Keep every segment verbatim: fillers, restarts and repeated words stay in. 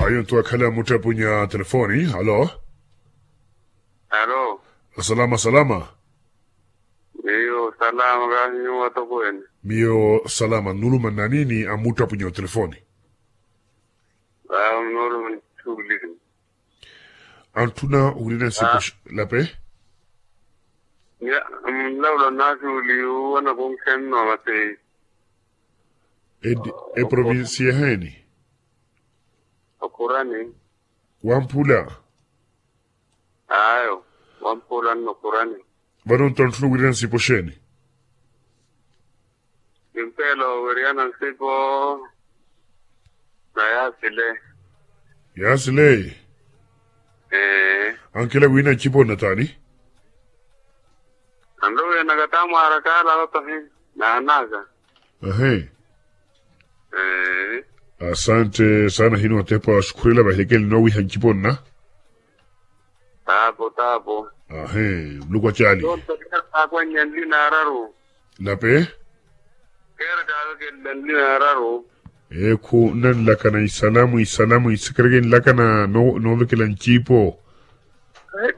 Ayo nto akhala muttapunya telefoni. Alo. Alo. Salama salama. Miyo salama kahi nyuwo atokweene? Miyo salama nuluma nnanini amuttapunya otelefoni. Aa nuluma nchuulini. Antthuna owirina nsipo lape. Nlawula nnaasuuli uwo anakunkhenno masi. Eprovinsi yaheeni? Okhurani. Wamphula. Ayo. Wamphula nno okhurani. Vano nto antthuna owirina nsipo xeeni? Kimpela oweriyana nsipo na yaasile. Yaasile. Ee. Ankela wiina ncipo nnataani? Anrowiyanaka taamwaara kaala otahi naanaka. Ahe. Ee. Asante saana hino atepa xukhurela vahilekele nnowiha ncipo nna. Taapo taapo. Ahe. Muluku acaali. Aakwannya nlina araru. Lape. Keera kaavekelle nlina araru. Ekhu nnanlakana isalamu isalamu isekereke nlakana noovekela ncipo.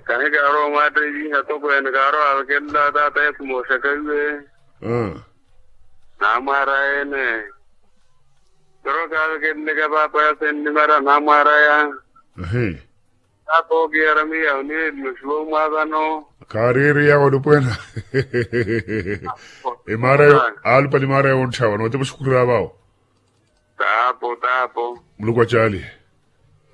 Kahi kaarowa omwatta iviha tokweene kaarowa avekella taata yesu mooxaka iwe. Naamwaaraya ene. Kero kaavekeleleke paapa yase nnimara naamwaaraya. Ahi. Taata ookiyara miya oniye nnoxiwa omwaavano. Kaareeriya olupweena. Emaara yo aalupale emaara yo ontthawa nootepa oxukhurira vawo. Taapo taapo. Muluku acaali.